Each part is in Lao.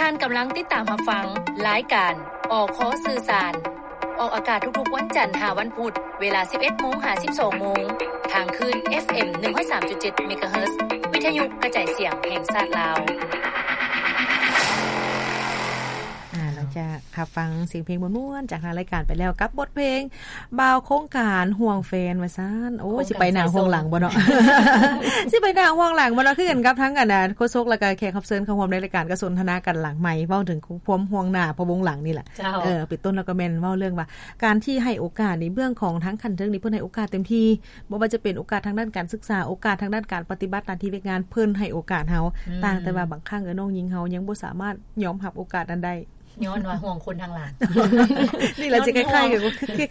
ທ່ານກຳລັງຕິດຕາມຮັບຟັງລາຍການ ອຄ ສື່ສານ ອອກອາກາດທຸກໆວັນຈັນຫາວັນພຸດ ເວລາສິບເອັດໂມງຫາສິບສອງໂມງ ທາງຄື້ນ ເອັຟເອັມ ໜຶ່ງຮ້ອຍສາມຈຸດເຈັດ ເມກາເຮີດ ວິທະຍຸກະຈາຍສຽງແຫ່ງຊາດລາວ. ອ່າ ຫຼັງຈາກຮັບຟັງສຽງເພງມ່ວນໆ ຈາກທາງລາຍການໄປແລ້ວ ກັບບົດເພງ ບ່າວໂຄງການຫ່ວງແຟນວ່າຊັ້ນ. ໂອ້ຍ ໂຄງການ ຊິໄປໜ້າຫ່ວງຫຼັງບໍ່ເນາະ? ສາຍສອງ ຊິໄປໜ້າຫ່ວງຫຼັງບໍ່ເນາະ? ຄືກັນກັບທັງ ອັນ ໂຄສົກ ແລ້ວກະແຂກຮັບເຊີນເຂົ້າຮ່ວມໃນລາຍການ ກໍສົນທະນາກັນຫຼັງໄມ ເວົ້າເຖິງຄວາມຫ່ວງໜ້າພະວົງຫຼັງນີ້ແຫຼະ. ເຈົ້າ. ເອີ ເປັນຕົ້ນແລ້ວກໍແມ່ນເວົ້າເລື່ອງວ່າ ການທີ່ໃຫ້ໂອກາດນີ້ ເບື້ອງຂອງທາງຂັ້ນເທິງນີ້ ເພິ່ນໃຫ້ໂອກາດເຕັມທີ່ ບໍ່ວ່າຈະເປັນໂອກາດທາງດ້ານການສຶກສາ, ໂອກາດທາງດ້ານການປະຕິບັດໜ້າທີ່ວຽກງານ ເພິ່ນໃຫ້ໂອກາດເຮົາ. ອືມ. ຕ່າງແຕ່ວ່າບາງຄັ້ງ ເອີ ນ້ອງຍິງເຮົາຍັງບໍ່ສາມາດຍອມຮັບໂອກາດນັ້ນໄດ້. ຍ້ອນວ່າຫ່ວງຄົນທາງຫຼັງ. ນີ້ລະຊິຄ້າຍໆກັບ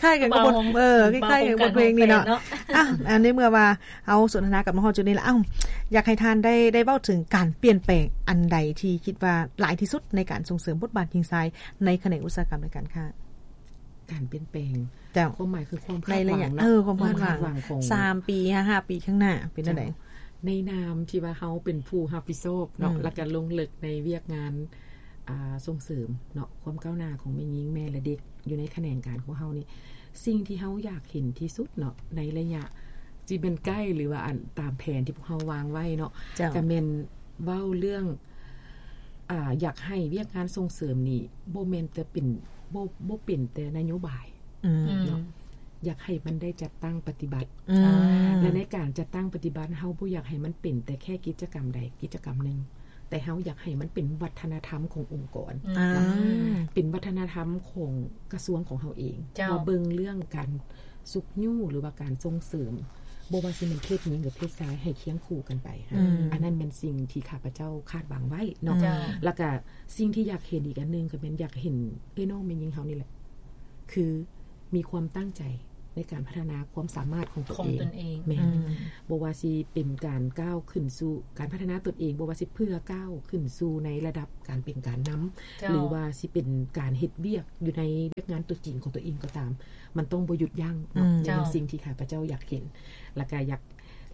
ຄ້າຍໆກັບ ເອີ ຄ້າຍໆກັບບົດເພງນີ້ເນາະ. ອ່ະ ອັນໃນເມື່ອວ່າເຮົາສົນທະນາກັນມາຮອດຈຸດນີ້ລະ ເອົ້າ ຢາກໃຫ້ທ່ານໄດ້ ໄດ້ເວົ້າເຖິງການປ່ຽນແປງອັນໃດທີ່ຄິດວ່າຫຼາຍທີ່ສຸດໃນການສົ່ງເສີມບົດບາດຍິງຊາຍໃນຂະແໜງອຸດສາຫະກຳ ແລະ ການຄ້າ? ການປ່ຽນແປງ. ເຈົ້າ. ຄວາມໝາຍຄືຄວາມຄາດຫວັງເນາະ. ເອີ ຄວາມຄາດຫວັງ ຄວາມຄາດຫວັງຂອງສາມປີ ຫ້າ ຫ້າປີຂ້າງໜ້າເປັນຈັ່ງໃດ? ເຈົ້າ. ໃນນາມທີ່ວ່າເຮົາເປັນຜູ້ຮັບຜິດຊອບເນາະ ອືມ ແລ້ວກໍລົງເລິກໃນວຽກງານ ອ່າ ສົ່ງເສີມເນາະ ຄວາມກ້າວໜ້າຂອງແມ່ຍິງ ແມ່ ແລະ ເດັກ ຢູ່ໃນຂະແໜງການຂອງເຮົານີ້ ສິ່ງທີ່ເຮົາຢາກເຫັນທີ່ສຸດເນາະ ໃນໄລຍະ ຊິແມ່ນໃກ້ ຫຼືວ່າ ອັນ ຕາມແຜນທີ່ພວກເຮົາວາງໄວ້ເນາະ. ເຈົ້າ. ກໍແມ່ນເວົ້າເລື່ອງ ອ່າ ຢາກໃຫ້ວຽກງານສົ່ງເສີມນີ້ ບໍ່ແມ່ນແຕ່ເປັນ ບໍ່ ບໍ່ເປັນແຕ່ນະໂຍບາຍ ອືມ ເນາະ ອືມ ຢາກໃຫ້ມັນໄດ້ຈັດຕັ້ງປະຕິບັດ. ອືມ. ແລະ ໃນການຈັດຕັ້ງປະຕິບັດ ເຮົາບໍ່ຢາກໃຫ້ມັນເປັນແຕ່ແຄ່ກິດຈະກຳໃດກິດຈະກຳໜຶ່ງ ແຕ່ເຮົາຢາກໃຫ້ມັນເປັນວັດທະນະທຳຂອງອົງກອນ ອືມ ເນາະ ອ່າ ເປັນວັດທະນະທຳຂອງກະຊວງຂອງເຮົາເອງ. ເຈົ້າ. ວ່າເບິ່ງເລື່ອງການຊຸກຍູ້ ຫຼືວ່າການສົ່ງເສີມ ບໍ່ວ່າຊິແມ່ນເພດຍິງ ຫຼື ເພດຊາຍ ໃຫ້ຄຽງຄູ່ກັນໄປ. ອືມ. ອັນນັ້ນແມ່ນສິ່ງທີ່ຂ້າພະເຈົ້າຄາດຫວັງໄວ້ເນາະ. ເຈົ້າ. ແລ້ວກະສິ່ງທີ່ຢາກເຫັນອີກອັນໜຶ່ງ ກໍແມ່ນຢາກເຫັນເອື້ອຍນ້ອງແມ່ຍິງເຮົານີ້ແຫຼະ ຄືມີຄວາມຕັ້ງໃຈໃນການພັດທະນາຄວາມສາມາດຂອງຕົນເອງ. ຂອງຕົນເອງ. ແມ່ນ. ອືມ. ບໍ່ວ່າຊິເປັນການກ້າວຂຶ້ນສູ່ການພັດທະນາຕົນເອງ, ບໍ່ວ່າຊິເພື່ອກ້າວຂຶ້ນສູ່ໃນລະດັບການເປັນການນຳ, ເຈົ້າ. ຫຼືວ່າຊິເປັນການເຮັດວຽກຢູ່ໃນວຽກງານຕົວຈິງຂອງຕົວເອງກໍຕາມ, ມັນຕ້ອງບໍ່ຢຸດຢັ້ງເນາະ. ອືມ. ເຈົ້າ. ໃນສິ່ງທີ່ຂ້າພະເຈົ້າຢາກເຫັນ ແລະ ກະຢາກ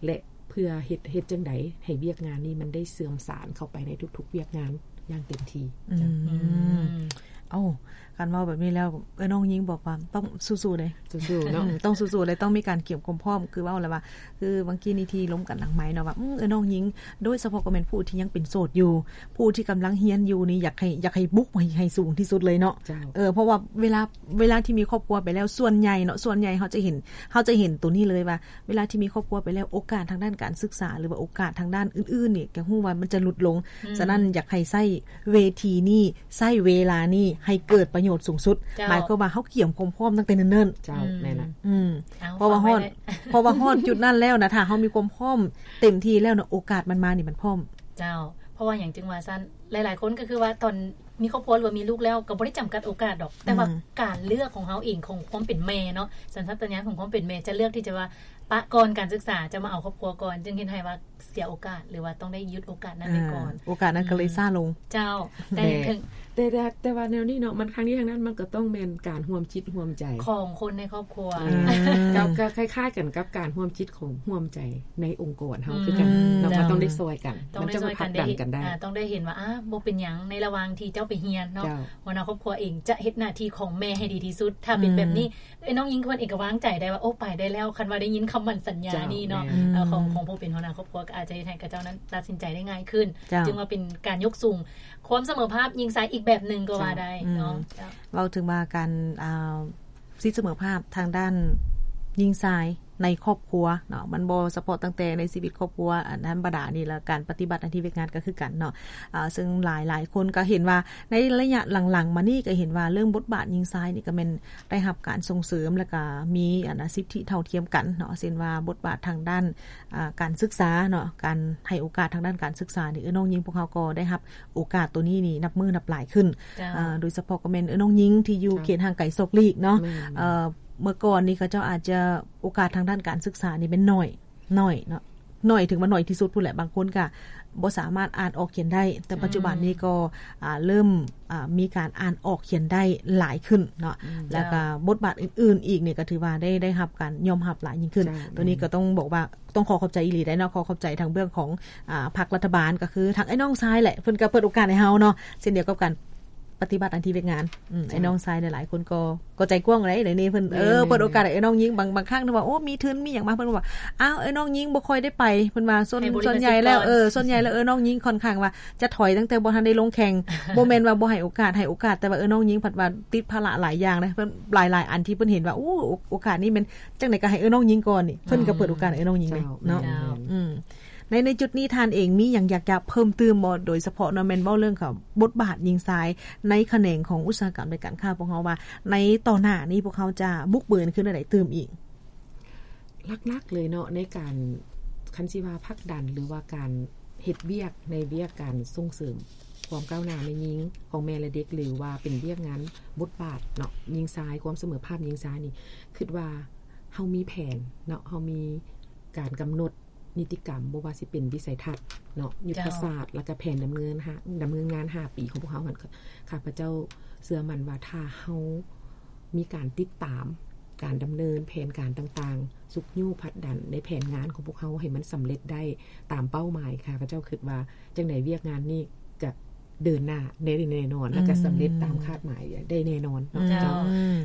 ແລະ ເພື່ອເຮັດ ເຮັດຈັ່ງໃດໃຫ້ວຽກງານນີ້ມັນໄດ້ເຊື່ອມສານເຂົ້າໄປໃນທຸກໆວຽກງານຢ່າງເຕັມທີ່. ອືມ. ເຈົ້າ. ເອົ້າ ຄັນເວົ້າແບບນີ້ແລ້ວ ເອີ ນ້ອງຍິງບອກວ່າຕ້ອງສູ້ໆເດ້. ສູ້ໆເນາະ. ອືມ ຕ້ອງສູ້ໆເດ້ ຕ້ອງມີການກຽມຄວາມພ້ອມ ຄືເວົ້າແລ້ວວ່າ ຄືບາງກີ້ນີ້ທີ່ລົມກັນຫຼັງໄມເນາະວ່າ ອືມ ເອີ ນ້ອງຍິງ ໂດຍສະເພາະກໍແມ່ນຜູ້ທີ່ຍັງເປັນໂສດຢູ່ ຜູ້ທີ່ກຳລັງຮຽນຢູ່ນີ້ ຢາກໃຫ້ ຢາກໃຫ້ບຸກໃຫ້ ໃຫ້ສູງທີ່ສຸດເລີຍເນາະ. ເຈົ້າ. ເອີ ເພາະວ່າເວລາ ເວລາທີ່ມີຄອບຄົວໄປແລ້ວ ສ່ວນໃຫຍ່ເນາະ ສ່ວນໃຫຍ່ເຮົາຈະເຫັນ ເຮົາຈະເຫັນໂຕນີ້ເລີຍວ່າ ເວລາທີ່ມີຄອບຄົວໄປແລ້ວ ໂອກາດທາງດ້ານການສຶກສາ ຫຼືວ່າໂອກາດທາງດ້ານອື່ນໆນີ້ ກໍຮູ້ວ່າມັນຈະຫຼຸດລົງ. ອືມ. ສະນັ້ນ ຢາກໃຫ້ໃຊ້ເວທີນີ້ ໃຊ້ເວລານີ້ໃຫ້ເກີດປະໂຫຍດສູງສຸດ. ເຈົ້າ. ໝາຍຄວາມວ່າເຮົາກຽມຄວາມພ້ອມຕັ້ງແຕ່ເນີນໆ. ເຈົ້າ. ອືມ. ແມ່ນລະ. ອືມ. ເອົາ ເພາະວ່າຮອດ ເພາະວ່າຮອດຈຸດນັ້ນແລ້ວນະ ຖ້າເຮົາມີຄວາມພ້ອມເຕັມທີ່ແລ້ວນະ ໂອກາດມັນມານີ້ມັນພ້ອມ. ເຈົ້າ. ເພາະວ່າຫຍັງຈຶ່ງວ່າຊັ້ນ? ຫຼາຍໆຄົນກໍຄືວ່າຕອນມີຄອບຄົວ ຫຼືວ່າມີລູກແລ້ວ ກໍບໍ່ໄດ້ຈຳກັດໂອກາດດອກ ແຕ່ວ່າ ອືມ ການເລືອກຂອງເຮົາເອງ ຂອງຄວາມເປັນແມ່ເນາະ ສັນຊາດຕະຍານຂອງຄວາມເປັນແມ່ ຈະເລືອກທີ່ຈະວ່າປະກ່ອນການສຶກສາ ຈະມາເອົາຄອບຄົວກ່ອນ ຈຶ່ງເຮັດໃຫ້ວ່າເສຍໂອກາດ ຫຼືວ່າຕ້ອງໄດ້ຢຸດໂອກາດນັ້ນໄປກ່ອນ. ອາ ໂອກາດນັ້ນກໍເລີຍ ອືມ ຊ້າລົງ. ເຈົ້າ. ແຕ່ ແຕ່ ແຕ່ ແຕ່ ແຕ່ວ່າແນວນີ້ເນາະ ມັນທັງນີ້ທັງນັ້ນ ມັນກໍຕ້ອງແມ່ນການຮ່ວມຈິດຮ່ວມໃຈ ຂອງຄົນໃນຄອບຄົວ. ອືມ. ກໍ ກໍຄ້າຍໆກັນກັບການຮ່ວມຈິດ ຂອງຮ່ວມໃຈໃນອົງກອນເຮົາ ອືມ ຄືກັນເນາະ. ເຈົ້າ. ມັນຕ້ອງໄດ້ຊ່ອຍກັນ ຕ້ອງໄດ້ຊ່ອຍກັນ ມັນຈັ່ງຈະຜັກດັນກັນໄດ້. ເອີ ຕ້ອງໄດ້ເຫັນວ່າ ອາ ບໍ່ເປັນຫຍັງ ໃນລະຫວ່າງທີ່ເຈົ້າໄປຮຽນເນາະ. ເຈົ້າ. ຫົວໜ້າຄອບຄົວເອງຈະເຮັດໜ້າທີ່ຂອງແມ່ໃຫ້ດີທີ່ສຸດ. ຖ້າເປັນແບບນີ້ ອືມ ເອີຍ ນ້ອງຍິງເພິ່ນເອງກໍວາງໃຈໄດ້ວ່າ ໂອ້ ໄປໄດ້ແລ້ວ ຄັນວ່າໄດ້ຍິນຄຳໝັ້ນສັນຍານີ້ເນາະ. ເຈົ້າ. ແມ່ນ. ເອີ ຂອງ ອືມ ຂອງຜູ້ເປັນຫົວໜ້າຄອບຄົວກໍອາດຈະເຮັດໃຫ້ເຂົາເຈົ້ານັ້ນຕັດສິນໃຈໄດ້ງ່າຍຂຶ້ນ. ເຈົ້າ. ຈຶ່ງວ່າເປັນການຍົກສູງຄວາມສະເໝີພາບຍິງຊາຍອີກແບບໜຶ່ງກໍວ່າໄດ້ເນາະ. ເຈົ້າ. ອືມ. ເຈົ້າ. ເວົ້າເຖິງວ່າການ ອ່າ ສິດສະເໝີພາບທາງດ້ານຍິງຊາຍໃນຄອບຄົວເນາະ ມັນບໍ່ສະເພາະຕັ້ງແຕ່ໃນຊີວິດຄອບຄົວອັນທຳມະດານີ້ ແລະ ການປະຕິບັດໜ້າທີ່ວຽກງານກໍຄືກັນເນາະ. ເຊິ່ງຫຼາຍໆຄົນກໍເຫັນວ່າໃນໄລຍະຫຼັງໆມານີ້ ກໍເຫັນວ່າເລື່ອງບົດບາດຍິງຊາຍນີ້ກໍແມ່ນໄດ້ຮັບການສົ່ງເສີມ ແລະ ກໍມີອັນນະ ສິດທິເທົ່າທຽມກັນເນາະ ເຊັ່ນວ່າບົດບາດທາງດ້ານ ອ່າ ການສຶກສາເນາະ ການໃຫ້ໂອກາດທາງດ້ານການສຶກສານີ້ ເອີ ນ້ອງຍິງພວກເຮົາກໍໄດ້ຮັບໂອກາດໂຕນີ້ນີ້ນັບມື້ນັບຫຼາຍຂຶ້ນ. ເຈົ້າ. ເອີ ໂດຍສະເພາະກໍແມ່ນ ເອີ ນ້ອງຍິງທີ່ຢູ່ ເຈົ້າ ເຂດຫ່າງໄກສອກຫຼີກເນາະ. ແມ່ນ. ເອີ ເມື່ອກ່ອນນີ້ເຂົາເຈົ້າອາດຈະໂອກາດທາງດ້ານການສຶກສານີ້ແມ່ນໜ້ອຍ ໜ້ອຍເນາະ. ໜ້ອຍ ຖືວ່າໜ້ອຍທີ່ສຸດພຸ້ນແຫຼະ ບາງຄົນກໍບໍ່ສາມາດອ່ານອອກຂຽນໄດ້ ແຕ່ປັດຈຸບັນນີ້ກໍ ອ່າ ເລີ່ມ ອ່າ ມີການອ່ານອອກຂຽນໄດ້ຫຼາຍຂຶ້ນເນາະ ແລ້ວກໍບົດບາດອື່ນໆອີກນີ້ກໍຖືວ່າໄດ້ ໄດ້ຮັບການຍອມຮັບຫຼາຍຍິ່ງຂຶ້ນ. ໂຕນີ້ກໍຕ້ອງບອກວ່າ ຕ້ອງຂໍຂອບໃຈອີ່ຫຼີໄດ໋ເນາະ ຂໍຂອບໃຈທາງເບື້ອງຂອງ ອ່າ ພັກລັດຖະບານ ກໍຄືທາງອ້າຍນ້ອງຊາຍແຫຼະ ເພິ່ນກໍເປີດໂອກາດໃຫ້ເຮົາເນາະ ເຊັ່ນດຽວກັບການປະຕິບັດໜ້າທີ່ວຽກງານ. ອືມ ເຈົ້າ ອ້າຍນ້ອງຊາຍຫຼາຍໆຄົນກໍ ກໍໃຈກວ້າງໄດ໋ ໃນນີ້ເພິ່ນ ແມ່ນໆ ເອີ ເປີດໂອກາດໃຫ້ອ້າຍນ້ອງຍິງ ບາງ ບາງຄັ້ງທີ່ວ່າ ໂອ້ ມີທຶນມີຫຍັງມາ ເພິ່ນກໍວ່າ ອ້າວ ອ້າຍນ້ອງຍິງບໍ່ຄ່ອຍໄດ້ໄປ ເພິ່ນວ່າ ສ່ວນ ສ່ວນໃຫຍ່ແລ້ວ ເອີ ສ່ວນໃຫຍ່ແລ້ວ ເອີ ນ້ອງຍິງຄ່ອນຂ້າງວ່າຈະຖອຍຕັ້ງແຕ່ບໍ່ທັນໄດ້ລົງແຂ່ງ ບໍ່ແມ່ນວ່າບໍ່ໃຫ້ໂອກາດ ໃຫ້ໂອກາດ ແຕ່ວ່າ ເອີ ນ້ອງຍິງພັດວ່າຕິດພາລະຫຼາຍຢ່າງເດ້ ເພິ່ນ ຫຼາຍໆອັນທີ່ເພິ່ນເຫັນວ່າ ໂອ້ ໂອ ໂອກາດນີ້ແມ່ນ ຈັ່ງໃດກໍໃຫ້ເອື້ອຍນ້ອງຍິງກ່ອນນີ້ ເພິ່ນກໍເປີດໂອກາດໃຫ້ເອື້ອຍນ້ອງຍິງເດ້ເນາະ. ເຈົ້າ ອືມ ໃນ ໃນຈຸດນີ້ທ່ານເອງມີຫຍັງຢາກຈະເພີ່ມຕື່ມບໍ່ ໂດຍສະເພາະເນາະ ແມ່ນເວົ້າເລື່ອງຂອງບົດບາດຍິງຊາຍໃນຂະແໜງຂອງອຸດສາຫະກຳ ແລະ ການຄ້າພວກເຮົາວ່າ ໃນຕໍ່ໜ້ານີ້ພວກເຮົາຈະບຸກເບີນຂຶ້ນແນວໃດຕື່ມອີກ? ຫຼັກໆເລີຍເນາະ ໃນການ ຄັນຊິວ່າຜັກດັນ ຫຼືວ່າການເຮັດວຽກ ໃນວຽກການສົ່ງເສີມຄວາມກ້າວໜ້າແມ່ຍິງ ຂອງແມ່ ແລະ ເດັກ ຫຼືວ່າເປັນວຽກງານບົດບາດເນາະ ຍິງຊາຍ ຄວາມສະເໝີພາບຍິງຊາຍນີ້ ຄິດວ່າເຮົາມີແຜນເນາະ ເຮົາມີການກຳນົດນິຕິກຳ ບໍ່ວ່າຊິເປັນວິໄສທັດເນາະ ຍຸດທະສາດ ເຈົ້າ ແລ້ວກະແຜນດຳເນີນ ດຳເນີນງານຫ້າປີຂອງພວກເຮົາຫັ້ນ ຂ້າພະເຈົ້າເຊື່ອໝັ້ນວ່າ ຖ້າເຮົາມີການຕິດຕາມການດຳເນີນແຜນການຕ່າງໆ ຊຸກຍູ້ຜັກດັນໃນແຜນງານຂອງພວກເຮົາໃຫ້ມັນສຳເລັດໄດ້ຕາມເປົ້າໝາຍ ຂ້າພະເຈົ້າຄິດວ່າ ຈັ່ງໃດວຽກງານນີ້ກະເດີນໜ້າໄດ້ແນ່ນອນ ແລ້ວກະສຳເລັດຕາມຄາດໝາຍໄດ້ແນ່ນອນເນາະ. ເຈົ້າ ເຈົ້າ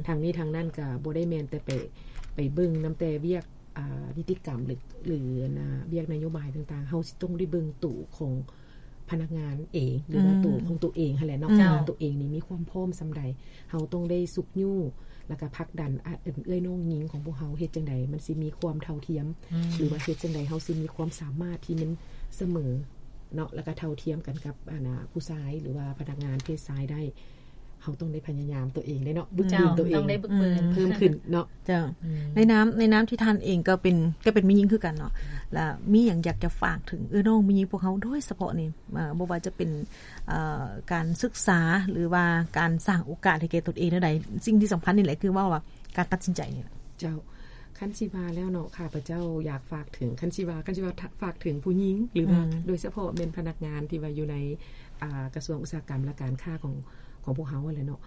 ທັງນີ້ທັງນັ້ນກະບໍ່ໄດ້ແມ່ນແຕ່ໄປ ໄປເບິ່ງນຳແຕ່ວຽກ ອ່າ ນິຕິກຳ ຫຼື ຫຼື ອັນນ່າ ວຽກນະໂຍບາຍຕ່າງໆ ເຮົາຊິຕ້ອງໄດ້ເບິ່ງໂຕຂອງພະນັກງານເອງ ຫຼືວ່າໂຕຂອງໂຕເອງຫັ້ນແຫຼະເນາະ ເຈົ້າ ວ່າໂຕເອງນີ້ມີຄວາມພ້ອມສ່ຳໃດ ເຮົາຕ້ອງໄດ້ຊຸກຍູ້ ແລ້ວກະຜັກດັນ ອາ ເອື້ອຍນ້ອງຍິງຂອງພວກເຮົາເຮັດຈັ່ງໃດມັນຊິມີຄວາມເທົ່າທຽມ ອືມ ຫຼືວ່າເຮັດຈັ່ງໃດເຮົາຊິມີຄວາມສາມາດທີ່ມັນສະເໝີເນາະ ແລ້ວກະເທົ່າທຽມກັນກັບ ອັນນ່າ ຜູ້ຊາຍ ຫຼືວ່າພະນັກງານເພດຊາຍໄດ້ ເຮົາຕ້ອງໄດ້ພະຍາຍາມໂຕເອງເດ້ເນາະ ເຈົ້າ ຝຶກຝືນໂຕເອງ ຕ້ອງໄດ້ຝຶກຝືນ ອືມ ເພີ່ມຂຶ້ນເນາະ. ເຈົ້າ ອືມ ໃນນາມ ໃນນາມທີ່ທ່ານເອງກໍເປັນ ກໍເປັນແມ່ຍິງຄືກັນເນາະ ແລະ ມີຫຍັງຢາກຈະຝາກເຖິງເອື້ອຍນ້ອງແມ່ຍິງພວກເຮົາໂດຍສະເພາະນີ້ ເອີ ບໍ່ວ່າຈະເປັນ ເອີ ການສຶກສາ ຫຼືວ່າການສ້າງໂອກາດໃຫ້ແກ່ຕົນເອງແນວໃດ ສິ່ງທີ່ສຳຄັນນີ້ແຫຼະ ຄືເວົ້າວ່າການຕັດສິນໃຈນີ້ແຫຼະ. ເຈົ້າ ຄັນຊິວ່າແລ້ວເນາະ ຂ້າພະເຈົ້າຢາກຝາກເຖິງ ຄັນຊິວ່າ ຄັນຊິວ່າ ທະ ຝາກເຖິງຜູ້ຍິງ ຫຼືວ່າ ອືມ ໂດຍສະເພາະແມ່ນພະນັກງານທີ່ວ່າຢູ່ໃນ ອ່າ ກະຊວງອຸດສາຫະກຳ ແລະ ການຄ້າຂອງ ຂອງພວກເຮົາຫັ້ນແຫຼະເນາະ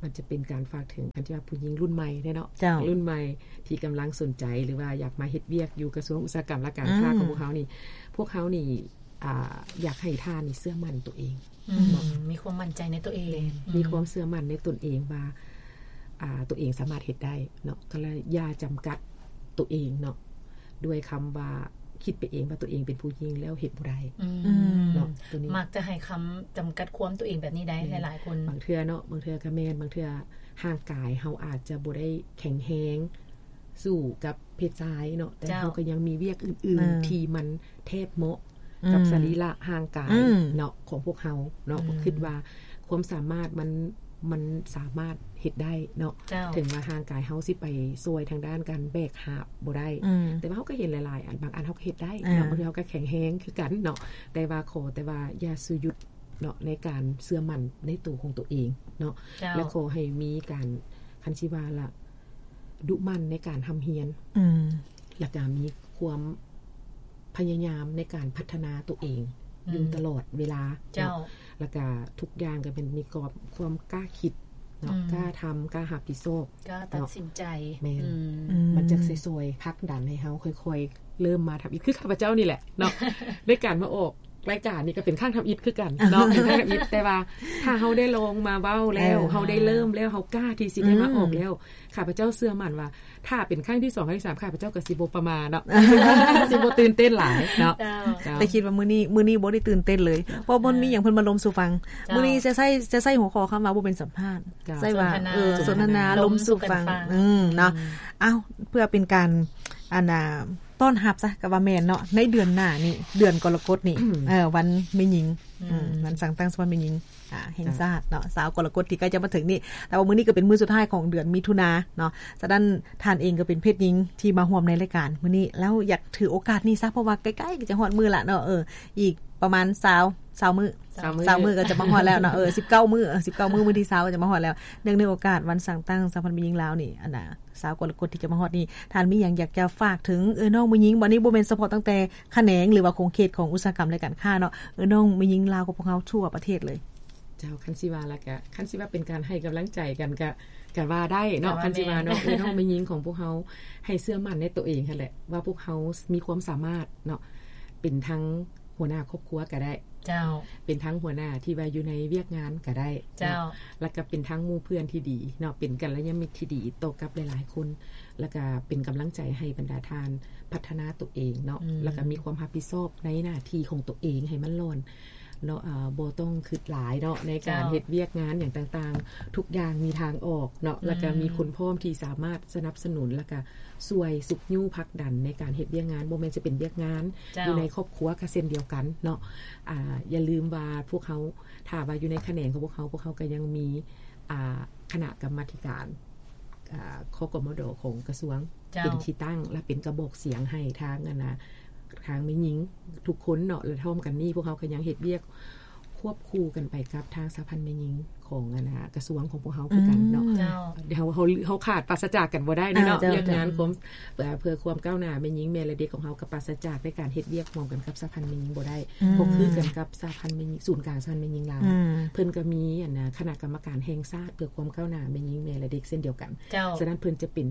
ມັນຈະເປັນການຝາກເຖິງ ຄັນຊິວ່າຜູ້ຍິງລຸ້ນໃໝ່ເດ້ເນາະ ເຈົ້າ ລຸ້ນໃໝ່ທີ່ກຳລັງສົນໃຈ ຫຼືວ່າຢາກມາເຮັດວຽກຢູ່ກະຊວງອຸດສາຫະກຳ ແລະ ການຄ້າ ອືມ ຂອງພວກເຮົານີ້ ພວກເຮົານີ້ ອ່າ ຢາກໃຫ້ທ່ານນີ້ເຊື່ອໝັ້ນໂຕເອງ ອືມ ເນາະ ມີຄວາມໝັ້ນໃຈໃນຕົວເອງ ແມ່ນ ອືມ ມີຄວາມເຊື່ອໝັ້ນໃນຕົນເອງວ່າ ອ່າ ຕົວເອງສາມາດເຮັດໄດ້ເນາະ ກໍລະຢ່າຈຳກັດຕົວເອງເນາະ ດ້ວຍຄຳວ່າຄິດໄປເອງວ່າຕົວເອງເປັນຜູ້ຍິງແລ້ວເຮັດບໍ່ໄດ້ ອືມ ເນາະ ຕົວນີ້ມັກຈະໃຫ້ຄຳຈຳກັດຄວາມຕົວເອງແບບນີ້ໄດ໋ ແມ່ນ ຫຼາຍໆຄົນ ບາງເທື່ອເນາະ ບາງເທື່ອກໍແມ່ນ ບາງເທື່ອຮ່າງກາຍເຮົາອາດຈະບໍ່ໄດ້ແຂງແຮງ ສູ້ກັບເພດຊາຍເນາະ ແຕ່ ເຈົ້າ ເຮົາກໍຍັງມີວຽກອື່ນໆ ເອີ ທີ່ມັນແທດເໝາະກັບ ອືມ ສະລີລະຮ່າງກາຍ ອືມ ເນາະ ຂອງພວກເຮົາເນາະ ອືມ ກໍຄິດວ່າຄວາມສາມາດມັນ ມັນສາມາດເຮັດໄດ້ເນາະ ເຈົ້າ ເຖິງວ່າຮ່າງກາຍເຮົາຊິໄປຊ່ວຍທາງດ້ານການແບກຫາບບໍ່ໄດ້ ອືມ ແຕ່ວ່າເຮົາກໍເຫັນຫຼາຍໆອັນ ບາງອັນເຮົາກໍເຮັດໄດ້ເນາະ ອ່າ ບາງເທື່ອເຮົາກໍແຂງແຮງຄືກັນເນາະ ແຕ່ວ່າຂໍແຕ່ວ່າຢ່າຊຸດຢຸດເນາະ ໃນການເຊື່ອໝັ້ນໃນໂຕຂອງຕົວເອງເນາະ ເຈົ້າ ແລະ ຂໍໃຫ້ມີການ ຄັນຊິວ່າລະ ດຸໝັ່ນໃນການຮ່ຳຮຽນ ອືມ ແລ້ວກະມີຄວາມພະຍາຍາມໃນການພັດທະນາຕົວເອງ ອືມ ຢູ່ຕະຫຼອດເວລາ ເຈົ້າ ເນາະ ແລ້ວກະທຸກຢ່າງກໍແມ່ນມີຄວາມ ຄວາມກ້າຄິດເນາະ ອືມ ກ້າທຳ ກ້າຮັບຜິດຊອບ ກ້າຕັດສິນໃຈ ເນາະ ແມ່ນ ອືມ ອືມ ມັນຈະຊ່ອຍໆ ຜັກດັນໃຫ້ເຮົາຄ່ອຍໆ ເລີ່ມມາທຳອິດ ຄືຂ້າພະເຈົ້ານີ້ແຫຼະເນາະ ໃນການມາອອກ ລາຍການນີ້ກໍເປັນຄັ້ງທຳອິດຄືກັນເນາະ ເປັນຄັ້ງທຳອິດ ແຕ່ວ່າຖ້າເຮົາໄດ້ລອງມາເວົ້າແລ້ວ ເອີ ເຮົາໄດ້ເລີ່ມແລ້ວ ເຮົາກ້າທີ່ຊິໄດ້ມາອອກແລ້ວ ອືມ ຂ້າພະເຈົ້າເຊື່ອໝັ້ນວ່າ ຖ້າເປັນຄັ້ງທີສອງ ຄັ້ງທີສາມ ຂ້າພະເຈົ້າກໍຊິບໍ່ປະໝ່າເນາະ ຊິບໍ່ຕື່ນເຕັ້ນຫຼາຍເນາະ ເຈົ້າ ເຈົ້າ ແຕ່ຄິດວ່າມື້ນີ້ ມື້ນີ້ບໍ່ໄດ້ຕື່ນເຕັ້ນເລີຍ ເພາະບໍ່ມີຫຍັງ ເພິ່ນມາລົມສູ່ຟັງ ເຈົ້າ ມື້ນີ້ຈະໃຊ້ ຈະໃຊ້ຫົວຂໍ້ຄຳວ່າບໍ່ແມ່ນສຳພາດ ເຈົ້າ ໃຊ້ວ່າ ສົນທະນາ ເອີ ສົນທະນາ ລົມສູ່ຟັງ ລົມສູ່ກັນຟັງ ອືມ ເນາະ ເອົາ ເພື່ອເປັນການ ອັນນ່າ ຕ້ອນຮັບຊະ ກໍວ່າແມ່ນເນາະ ໃນເດືອນໜ້ານີ້ ເດືອນກໍລະກົດນີ້ ເອີ ວັນແມ່ຍິງ ອືມ ອືມ ວັນສ້າງຕັ້ງສະພາແມ່ຍິງ ອ່າ ແຫ່ງຊາດເນາະ ຊາວກໍລະກົດທີ່ໃກ້ຈະມາເຖິງນີ້ ແຕ່ວ່າມື້ນີ້ກໍເປັນມື້ສຸດທ້າຍຂອງເດືອນມິຖຸນາເນາະ ສະນັ້ນທ່ານເອງກໍເປັນເພດຍິງທີ່ມາຮ່ວມໃນລາຍການມື້ນີ້ ແລ້ວຢາກຖືໂອກາດນີ້ຊະ ເພາະວ່າໃກ້ໆກໍຈະຮອດມື້ລະເນາະ ເອີ ອີກ ປະມານຊາວ ຊາວມື້ ຊາວມື້ ຊາວມື້ກໍຈະມາຮອດແລ້ວເນາະ ເອີ ສິບເກົ້າມື້ ເອີ ສິບເກົ້າມື້ ມື້ທີຊາວກໍຈະມາຮອດແລ້ວ. ເນື່ອງໃນໂອກາດວັນສ້າງຕັ້ງສະຫະພັນແມ່ຍິງລາວນີ້ ອັນນ່າ ຊາວກໍລະກົດທີ່ຈະມາຮອດນີ້ ທ່ານມີຫຍັງຢາກຈະຝາກເຖິງເອື້ອຍນ້ອງແມ່ຍິງ? ບັດນີ້ບໍ່ແມ່ນສະເພາະຕັ້ງແຕ່ຂະແໜງ ຫຼືວ່າຂົງເຂດຂອງອຸດສາຫະກຳ ແລະ ການຄ້າເນາະ ເອື້ອຍນ້ອງແມ່ຍິງລາວຂອງພວກເຮົາທົ່ວປະເທດເລີຍ. ເຈົ້າ ຄັນຊິວ່າລະກະ ຄັນຊິວ່າເປັນການໃຫ້ກຳລັງໃຈກັນກະ ກະວ່າໄດ້ເນາະ ກະວ່າ ຄັນຊິວ່າເນາະ ແມ່ນ ເອື້ອຍນ້ອງແມ່ຍິງຂອງພວກເຮົາ ໃຫ້ເຊື່ອໝັ້ນໃນຕົວເອງຫັ້ນແຫຼະ ວ່າພວກເຮົາມີຄວາມສາມາດເນາະ ເປັນທັງຫົວໜ້າຄອບຄົວກະໄດ້ ເຈົ້າ ເປັນທັງຫົວໜ້າທີ່ວ່າຢູ່ໃນວຽກງານກະໄດ້ ເຈົ້າ ເນາະ ລະກະເປັນທັງໝູ່ເພື່ອນທີ່ດີເນາະ ເປັນກັນລະຍານມິດທີ່ດີຕໍ່ກັບຫຼາຍໆຄົນ ລະກະເປັນກຳລັງໃຈໃຫ້ບັນດາທ່ານພັດທະນາຕົວເອງເນາະ ອືມ ລະກະມີຄວາມຮັບຜິດຊອບໃນໜ້າທີ່ຂອງຕົວເອງໃຫ້ມັນຫຼອນ ເນາະ ເອີ ບໍ່ຕ້ອງຄິດຫຼາຍເນາະ ໃນການ ເຈົ້າ ເຮັດວຽກງານຫຍັງຕ່າງໆ ທຸກຢ່າງມີທາງອອກເນາະ ອືມ ແລ້ວກະມີຄົນພ້ອມທີ່ສາມາດສະໜັບສະໜູນ ແລ້ວກະຊ່ວຍຊຸກຍູ້ຜັກດັນໃນການເຮັດວຽກງານ ບໍ່ແມ່ນຈະເປັນວຽກງານ ເຈົ້າ ຢູ່ໃນຄອບຄົວກະເຊັ່ນດຽວກັນເນາະ ອາ ຢ່າລືມວ່າພວກເຮົາ ຖ້າວ່າຢູ່ໃນຂະແໜງຂອງພວກເຮົາ ພວກເຮົາກະຍັງມີ ອາ ຄະນະກຳມາທິການ ອາ ຄກມດ ຂອງກະຊວງ ເຈົ້າ ເປັນທີ່ຕັ້ງ ແລະ ເປັນກະບອກສຽງໃຫ້ທາງ ອັນນ່າ ທາງແມ່ຍິງທຸກຄົນເນາະ ແລະ ພ້ອມກັນນີ້ ພວກເຮົາກະຍັງເຮັດວຽກຄວບຄູ່ກັນໄປກັບທາງສະຫະພັນແມ່ຍິງຂອງ ອັນນ່າ ກະຊວງຂອງພວກເຮົາຄືກັນເນາະ ອືມ ເຈົ້າ ເຮົາ ເຮົາ ເຮົາຂາດປາສະຈາກກັນບໍ່ໄດ້ເນາະ ເຈົ້າ ວຽກງານ ເຈົ້າ ຄວາມ ເພື່ອ ເພື່ອຄວາມກ້າວໜ້າແມ່ຍິງແມ່ ແລະ ເດັກຂອງເຮົາ ກະປາສະຈາກໃນການເຮັດວຽກຮ່ວມກັນກັບສະຫະພັນແມ່ຍິງບໍ່ໄດ້ ອືມ ເພາະຄືກັນກັບສະຫະພັນແມ່ຍິງ ສູນກາງສະຫະພັນແມ່ຍິງລາວ ອືມ ເພິ່ນກະມີ ອັນນ່າ ຄະນະກຳມະການແຫ່ງຊາດເພື່ອຄວາມກ້າວໜ້າແມ່ຍິງແມ່ ແລະ ເດັກເຊັ່ນດຽວກັນ ເຈົ້າ ສະນັ້ນເພິ່ນຈະເປັນ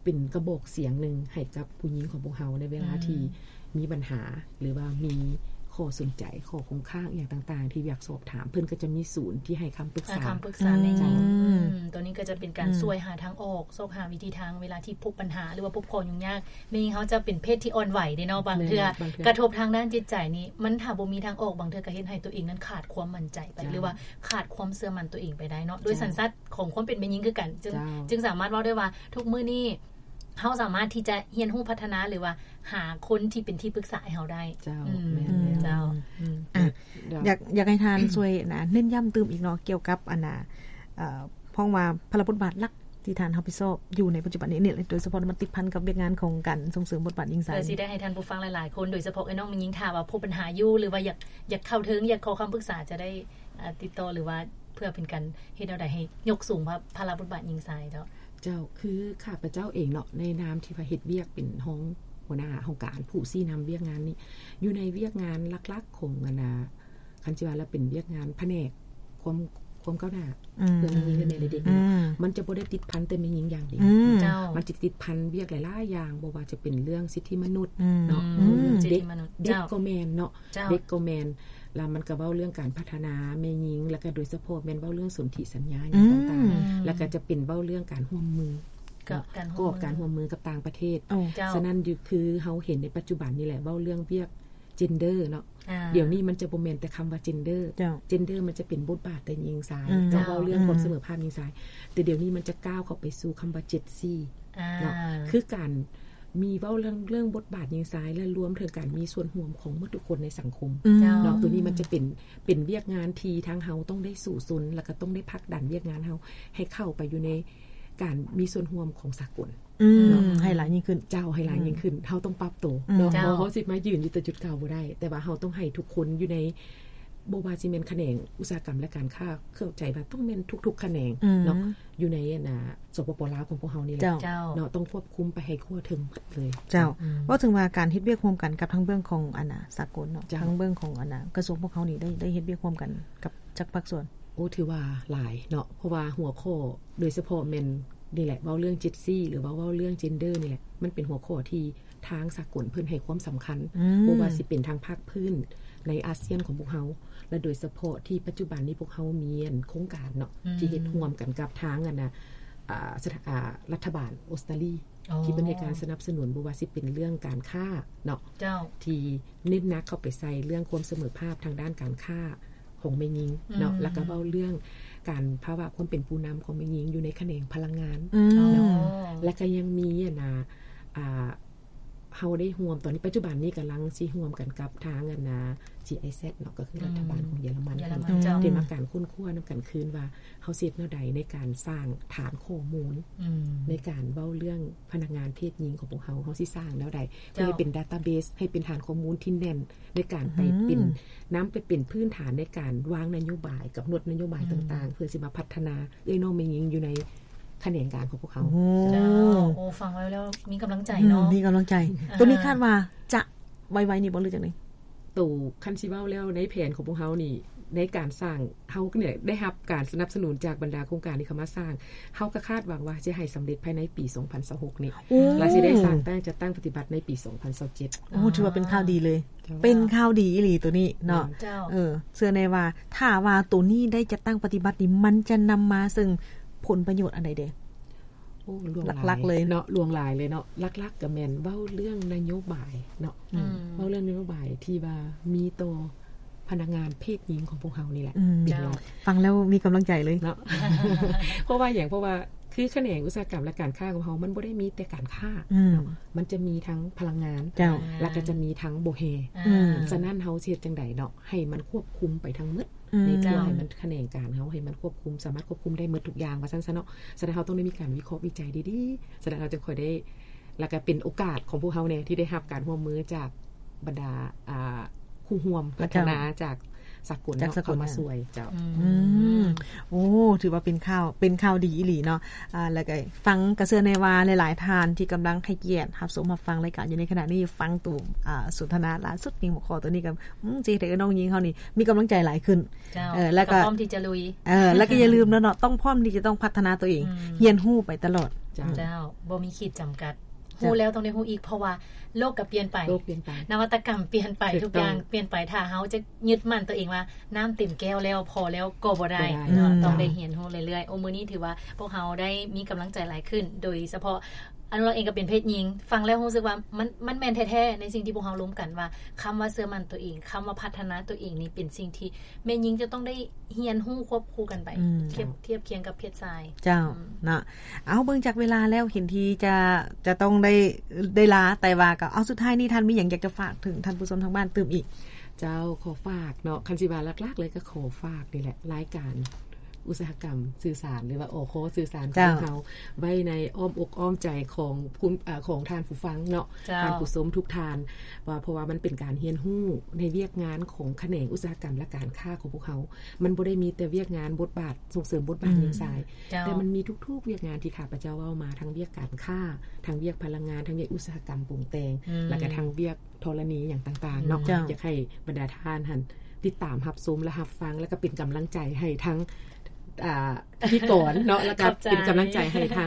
ເປັນກະບອກສຽງໜຶ່ງໃຫ້ກັບຜູ້ຍິງຂອງພວກເຮົາ ໃນເວລາ ອືມ ທີ່ມີບັນຫາ ຫຼືວ່າມີຂໍ້ສົນໃຈ ຂໍ້ຄົງຄ້າງອີ່ຫຍັງຕ່າງໆ ທີ່ຢາກສອບຖາມ ເພິ່ນກະຈະມີສູນທີ່ໃຫ້ຄຳປຶກສາ ໃຫ້ຄຳປຶກສາ ອືມ ໃນ ອືມ ໂຕນີ້ກະຈະເປັນການ ອືມ ຊ່ວຍຫາທາງອອກ ຊອກຫາວິທີທາງ ເວລາທີ່ພົບບັນຫາ ຫຼືວ່າພົບຂໍ້ຫຍຸ້ງຍາກ ແມ່ຍິງເຮົາຈະເປັນເພດທີ່ອ່ອນໄຫວເດ້ເນາະ ບາງເທື່ອ ແມ່ນ ບາງເທື່ອກະທົບທາງດ້ານຈິດໃຈນີ້ ມັນຖ້າບໍ່ມີທາງອອກ ບາງເທື່ອກະເຮັດໃຫ້ຕົວເອງນັ້ນຂາດຄວາມໝັ້ນໃຈໄປ ເຈົ້າ ຫຼືວ່າຂາດຄວາມເຊື່ອໝັ້ນຕົວເອງໄປໄດ້ເນາະ ໂດຍ ເຈົ້າ ສັນຊາດຂອງຄວາມເປັນແມ່ຍິງຄືກັນ ຈຶ່ງ ເຈົ້າ ຈຶ່ງສາມາດເວົ້າໄດ້ວ່າທຸກມື້ນີ້ ເຮົາສາມາດທີ່ຈະຮຽນຮູ້ພັດທະນາ ຫຼືວ່າຫາຄົນທີ່ເປັນທີ່ປຶກສາໃຫ້ເຮົາໄດ້ ເຈົ້າ ອືມ ແມ່ນແລ້ວ ເຈົ້າ ອືມ ອະ ແບບ ຢາກ ຢາກໃຫ້ທ່ານຊ່ວຍນະ ເນັ້ນຢ້ຳຕື່ມອີກເນາະ ກ່ຽວກັບ ອັນນ່າ ເອີ ເພາະວ່າພາລະບົດບາດຫຼັກທີ່ທ່ານຮັບຜິດຊອບຢູ່ໃນປັດຈຸບັນນີ້ ໂດຍສະເພາະມັນຕິດພັນກັບວຽກງານຂອງການສົ່ງເສີມບົດບາດຍິງຊາຍ ເພື່ອຊິໄດ້ໃຫ້ທ່ານຜູ້ຟັງຫຼາຍໆຄົນ ໂດຍສະເພາະເອື້ອຍນ້ອງແມ່ຍິງ ຖ້າວ່າພົບບັນຫາຢູ່ ຫຼືວ່າຢາກ ຢາກເຂົ້າເຖິງ ຢາກຂໍຄຳປຶກສາ ຈະໄດ້ ອາ ຕິດຕໍ່ ຫຼືວ່າເພື່ອເປັນການເຮັດແນວໃດໃຫ້ຍົກສູງພາ ພາລະບົດບາດຍິງຊາຍເຈົ້າ? ເຈົ້າ ຄືຂ້າພະເຈົ້າເອງເນາະ ໃນນາມທີ່ວ່າເຮັດວຽກເປັນຮອງຫົວໜ້າຫ້ອງການ ຜູ້ຊີ້ນຳວຽກງານນີ້ ຢູ່ໃນວຽກງານຫຼັກໆຂອງ ອັນນ່າ ຄັນຊິວ່າລະເປັນວຽກງານພະແນກຄວາມ ຄວາມກ້າວໜ້າ ອືມ ເພື່ອແມ່ຍິງ ແລະ ແມ່ ແລະ ເດັກ ອືມ ເນາະ ມັນຈະບໍ່ໄດ້ຕິດພັນແຕ່ແມ່ຍິງຢ່າງດຽວ ອືມ ເຈົ້າ ມັນຈະຕິດພັນວຽກຫຼາຍໆຢ່າງ ບໍ່ວ່າຈະເປັນເລື່ອງສິດທິມະນຸດ ອືມ ເນາະ ອືມ ເລື່ອງ ສິດທິມະນຸດ ເດັກ ເຈົ້າ ກໍແມ່ນເນາະ ເຈົ້າ ເດັກກໍແມ່ນ ລະມັນກະເວົ້າເລື່ອງການພັດທະນາແມ່ຍິງ ລະກະໂດຍສະເພາະແມ່ນເວົ້າເລື່ອງສົນທິສັນຍາຫຍັງຕ່າງໆ ອືມ ລະກະຈະເປັນເວົ້າເລື່ອງການຮ່ວມມື ການຮ່ວມມື ການຮ່ວມມືກັບຕ່າງປະເທດ ໂອ້ ເຈົ້າ ສະນັ້ນ ຢູ່ ຄືເຮົາເຫັນໃນປັດຈຸບັນນີ້ແຫຼະ ເວົ້າເລື່ອງວຽກ gender ເນາະ ອາ ດຽວນີ້ມັນຈະບໍ່ແມ່ນແຕ່ຄຳວ່າ gender ເຈົ້າ gender ມັນຈະເປັນບົດບາດແຕ່ຍິງຊາຍ ອືມ ເນາະ ເຈົ້າ ເວົ້າເລື່ອງ ອືມ ຄວາມສະເໝີພາບຍິງຊາຍ ແຕ່ດຽວນີ້ມັນຈະກ້າວເຂົ້າໄປສູ່ຄຳວ່າ Gen Z ອາ ເນາະ ຄືການມີເວົ້າເລື່ອງ ເລື່ອງບົດບາດຍິງຊາຍ ແລະ ລວມເຖິງການມີສ່ວນຮ່ວມຂອງໝົດທຸກຄົນໃນສັງຄົມ ອືມ ເນາະ ໂຕນີ້ມັນຈະເປັນ ເປັນວຽກງານທີ່ທາງເຮົາຕ້ອງໄດ້ສູ້ຊົນ ແລ້ວກະຕ້ອງໄດ້ຜັກດັນວຽກງານເຮົາໃຫ້ເຂົ້າໄປຢູ່ໃນການມີສ່ວນຮ່ວມຂອງສາກົນ ອືມ ເນາະ ໃຫ້ຫຼາຍຍິ່ງຂຶ້ນ ເຈົ້າ ໃຫ້ຫຼາຍ ອືມ ຍິ່ງຂຶ້ນ ເຮົາຕ້ອງປັບໂຕ ອືມ ເນາະ ເຈົ້າ ເຮົາ ເຮົາຊິມາຢືນຢູ່ແຕ່ຈຸດເກົ່າບໍ່ໄດ້ ແຕ່ວ່າເຮົາຕ້ອງໃຫ້ທຸກຄົນຢູ່ໃນ ບໍ່ວ່າຊິແມ່ນຂະແໜງອຸດສາຫະກຳ ແລະ ການຄ້າ ເຂົ້າໃຈວ່າຕ້ອງແມ່ນທຸກໆຂະແໜງ ອືມ ເນາະ ຢູ່ໃນ ອັນນ່າ ສປປ ລາວຂອງພວກເຮົານີ້ແຫຼະ ເຈົ້າ ເນາະ ຕ້ອງຄວບຄຸມໄປໃຫ້ທົ່ວເຖິງໝົດເລີຍ ເຈົ້າ ອືມ ເວົ້າເຖິງວ່າການເຮັດວຽກຮ່ວມກັນກັບທາງເບື້ອງຂອງ ອັນນ່າ ສາກົນເນາະ ເຈົ້າ ທາງເບື້ອງຂອງ ອັນນ່າ ກະຊວງພວກເຮົານີ້ ໄດ້ ໄດ້ເຮັດວຽກຮ່ວມກັນກັບຈັກພາກສ່ວນ? ໂອ້ ຖືວ່າຫຼາຍເນາະ ເພາະວ່າຫົວຂໍ້ໂດຍສະເພາະແມ່ນນີ້ແຫຼະ ເວົ້າເລື່ອງ Gen Z ຫຼືວ່າເວົ້າເລື່ອງ gender ນີ້ແຫຼະ ມັນເປັນຫົວຂໍ້ທີ່ ທາງສາກົນເພິ່ນໃຫ້ຄວາມສຳຄັນ ອືມ ບໍ່ວ່າຊິເປັນທາງພາກພື້ນໃນອາຊຽນຂອງພວກເຮົາ ແລະ ໂດຍສະເພາະທີ່ປັດຈຸບັນນີ້ພວກເຮົາມີ ອັນ ໂຄງການເນາະ ອືມ ທີ່ເຮັດຮ່ວມກັນກັບທາງ ອັນນ່າ ອາ ສະຖາ ອາ ລັດຖະບານອົດສະຕາລີ ອໍ ທີ່ເພິ່ນໃຫ້ການສະໜັບສະໜູນ ບໍ່ວ່າຊິເປັນເລື່ອງການຄ້າເນາະ ເຈົ້າ ທີ່ເນັ້ນໜັກເຂົ້າໄປໃສ່ເລື່ອງຄວາມສະເໝີພາບທາງດ້ານການຄ້າ ຂອງແມ່ຍິງເນາະ ອືມ ແລ້ວກະເວົ້າເລື່ອງການ ພາວະຄວາມເປັນຜູ້ນຳຂອງແມ່ຍິງຢູ່ໃນຂະແໜງພະລັງງານ ອືມ ເນາະ ອໍ ແລ້ວກະຍັງມີ ອັນນ່າ ອ່າ ເຮົາໄດ້ຮ່ວມ ຕອນນີ້ປັດຈຸບັນນີ້ກຳລັງຊິຮ່ວມກັນກັບທາງອັນນ່າ GIZ ເນາະ ກໍຄື ອືມ ລັດຖະບານຂອງເຢຍລະມັນ ເຢຍລະມັນ ເຈົ້າ ເຈົ້າ ທີ່ມາການຄົ້ນຄວ້ານຳກັນຄືນວ່າ ເຮົາຊິເຮັດແນວໃດໃນການສ້າງຖານຂໍ້ມູນ ອືມ ໃນການເວົ້າເລື່ອງພະນັກງານເພດຍິງຂອງພວກເຮົາ ເຮົາຊິສ້າງແນວໃດ ເຈົ້າ ເພື່ອໃຫ້ເປັນ database ໃຫ້ເປັນຖານຂໍ້ມູນທີ່ແໜ້ນ ໃນການໄປເປັນ ອືມ ນຳໄປເປັນພື້ນຖານໃນການວາງນະໂຍບາຍ ກຳນົດນະໂຍບາຍ ອືມ ຕ່າງໆ ເພື່ອຊິມາພັດທະນາເອື້ອຍນ້ອງແມ່ຍິງຢູ່ໃນຂະແໜງການຂອງພວກເຮົາ. ໂອ້ ເຈົ້າ ໂອ້ ຟັງແລ້ວ ແລ້ວມີກຳລັງໃຈເນາະ ອືມ ມີກຳລັງໃຈ ອ່າ ໂຕນີ້ຄາດວ່າຈະໄວໆນີ້ບໍ່ ຫຼືຈັ່ງໃດ? ໂຕ ຄັນຊິເວົ້າແລ້ວໃນແຜນຂອງພວກເຮົານີ້ ໃນການສ້າງ ເຮົານີ້ໄດ້ຮັບການສະໜັບສະໜູນຈາກບັນດາໂຄງການທີ່ເຂົ້າມາສ້າງ ເຮົາກໍຄາດຫວັງວ່າຈະໃຫ້ສຳເລັດພາຍໃນປີສອງພັນຊາວຫົກນີ້ ໂອ້ ແລະ ຊິໄດ້ສ້າງຕັ້ງ ຈັດຕັ້ງປະຕິບັດໃນປີສອງພັນຊາວເຈັດ. ໂອ້ ຖືວ່າເປັນຂ່າວດີເລີຍ ເຈົ້າ ເປັນຂ່າວດີອີ່ຫຼີໂຕນີ້ເນາະ ເຈົ້າ ເອີ ເຊື່ອແນ່ວ່າ ຖ້າວ່າໂຕນີ້ໄດ້ຈັດຕັ້ງປະຕິບັດນີ້ ມັນຈະນຳມາເຊິ່ງຜົນປະໂຫຍດອັນໃດແດ່? ໂອ້ ຫຼວງຫຼາຍ ຫຼັກໆເລີຍເນາະ ຫຼວງຫຼາຍເລີຍເນາະ ຫຼັກໆກໍແມ່ນເວົ້າເລື່ອງນະໂຍບາຍເນາະ ອືມ ເວົ້າເລື່ອງນະໂຍບາຍທີ່ວ່າມີຕໍ່ພະນັກງານເພດຍິງຂອງພວກເຮົານີ້ແຫຼະ ອືມ ເປັນຫຼັກ. ເຈົ້າ ຟັງແລ້ວມີກຳລັງໃຈເລີຍເນາະ ເພາະວ່າຫຍັງ? ເພາະວ່າຄືຂະແໜງອຸດສາຫະກຳ ແລະ ການຄ້າຂອງເຮົາ ມັນບໍ່ໄດ້ມີແຕ່ການຄ້າ ອືມ ເນາະ ມັນຈະມີທັງພະລັງງານ ເຈົ້າ ແລະ ກໍຈະມີທັງບໍ່ແຮ່ ອືມ ສະນັ້ນເຮົາຊິເຮັດຈັ່ງໃດເນາະ ໃຫ້ມັນຄວບຄຸມໄປທັງໝົດ ອືມ ໃນເພື່ອໃຫ້ມັນ ເຈົ້າ ຂະແໜງການເຮົາໃຫ້ມັນຄວບຄຸມ ສາມາດຄວບຄຸມໄດ້ໝົດທຸກຢ່າງວ່າຊັ້ນຊະເນາະ. ສະນັ້ນເຮົາຕ້ອງໄດ້ມີການວິເຄາະວິໄຈດີໆ ສະນັ້ນເຮົາຈຶ່ງຄ່ອຍໄດ້ ແລ້ວກໍເປັນໂອກາດຂອງພວກເຮົາແດ່ ທີ່ໄດ້ຮັບການຮ່ວມມືຈາກບັນດາ ອ່າ ຄູ່ຮ່ວມພັດທະນາ ເຈົ້າ ຈາກສາກົນ ຈາກສາກົນ ເຂົ້າມາຊ່ວຍ ເຈົ້າ ອືມ ອືມ ໂອ້ ຖືວ່າເປັນຂ່າວ ເປັນຂ່າວດີອີ່ຫຼີເນາະ ອ່າ ແລ້ວກໍຟັງ ກໍເຊື່ອແນ່ວ່າຫຼາຍໆທ່ານທີ່ກຳລັງໃຫ້ກຽດຮັບຊົມຮັບຟັງລາຍການຢູ່ໃນຂະນະນີ້ ຟັງໂຕ ອ່າ ສົນທະນາລ່າສຸດນີ້ ຫົວຂໍ້ໂຕນີ້ກໍ ອືມ ຊິເຮັດໃຫ້ນ້ອງຍິງເຮົານີ້ມີກຳລັງໃຈຫຼາຍຂຶ້ນ ເຈົ້າ ເອີ ແລ້ວກໍ ກໍພ້ອມທີ່ຈະລຸຍ ເອີ ແລ້ວກໍຢ່າລືມເນາະ ຕ້ອງພ້ອມທີ່ຈະຕ້ອງພັດທະນາຕົວເອງ ອືມ ຮຽນຮູ້ໄປຕະຫຼອດ ເຈົ້າ ອືມ ເຈົ້າ ບໍ່ມີຂີດຈຳກັດ ເຈົ້າ ຮູ້ແລ້ວຕ້ອງໄດ້ຮູ້ອີກ ເພາະວ່າໂລກກໍປ່ຽນໄປ ໂລກປ່ຽນໄປ ນະວັດຕະກຳປ່ຽນໄປ ຖືກຕ້ອງ ທຸກຢ່າງປ່ຽນໄປ ຖ້າເຮົາຈະຍຶດໝັ້ນຕົວເອງວ່ານ້ຳເຕັມແກ້ວແລ້ວ ພໍແລ້ວກໍບໍ່ໄດ້ ບໍ່ໄດ້ ເນາະ ເຈົ້າ ຕ້ອງໄດ້ຮຽນຮູ້ເລື້ອຍໆ. ໂອ້ ມື້ນີ້ຖືວ່າພວກເຮົາໄດ້ມີກຳລັງໃຈຫຼາຍຂຶ້ນ ໂດຍສະເພາະ ອະນຸລັກເອງກໍເປັນເພດຍິງ ຟັງແລ້ວຮູ້ສຶກວ່າມັນ ມັນແມ່ນແທ້ໆ ໃນສິ່ງທີ່ພວກເຮົາລົມກັນວ່າ ຄຳວ່າເຊື່ອໝັ້ນຕົວເອງ ຄຳວ່າພັດທະນາຕົວເອງນີ້ເປັນສິ່ງທີ່ແມ່ຍິງຈະຕ້ອງໄດ້ຮຽນຮູ້ຄວບຄູ່ກັນໄປ ອືມ ທຽບ ທຽບຄຽງກັບເພດຊາຍ ເຈົ້າ ອືມ ເນາະ. ເອົາ ເບິ່ງຈາກເວລາແລ້ວ ເຫັນທີ່ຈະ ຈະຕ້ອງໄດ້ ໄດ້ລາ ແຕ່ວ່າກໍ ເອົາ ສຸດທ້າຍນີ້ທ່ານມີຫຍັງຢາກຈະຝາກເຖິງທ່ານຜູ້ຊົມທາງບ້ານຕື່ມອີກ? ເຈົ້າ ຂໍຝາກເນາະ ຄັນຊິວ່າຫຼັກໆເລີຍກໍຂໍຝາກນີ້ແຫຼະ ລາຍການ ອຸດສາຫະກຳສື່ສານ ຫຼືວ່າ ອຄ ສື່ສານຂອງເຮົາ ເຈົ້າ ໄວ້ໃນອ້ອມອົກອ້ອມໃຈຂອງ ຂອງທ່ານຜູ້ຟັງເນາະ ເຈົ້າ ທ່ານຜູ້ຊົມທຸກທ່ານ ວ່າ ເພາະວ່າມັນເປັນການຮຽນຮູ້ໃນວຽກງານຂອງຂະແໜງອຸດສາຫະກຳ ແລະ ການຄ້າຂອງພວກເຮົາ ມັນບໍ່ໄດ້ມີແຕ່ວຽກງານບົດບາດ ສົ່ງເສີມບົດບາດຍິງຊາຍ ເຈົ້າ ແຕ່ມັນມີທຸກໆວຽກງານທີ່ຂ້າພະເຈົ້າເວົ້າມາ ທັງວຽກການຄ້າ ທັງວຽກພະລັງງານ ທັງວຽກອຸດສາຫະກຳປຸງແຕ່ງ ແລ້ວກໍທັງວຽກ ທໍລະນີຫຍັງຕ່າງໆເນາະ ເຈົ້າ ຢາກໃຫ້ບັນດາທ່ານຫັ້ນຕິດຕາມຮັບຊົມ ແລະ ຮັບຟັງ ແລ້ວກໍເປັນກຳລັງໃຈໃຫ້ທັງ ອ່າ ພິທີກອນເນາະ ແລ້ວກໍເປັນກຳລັງໃຈໃຫ້ທັງ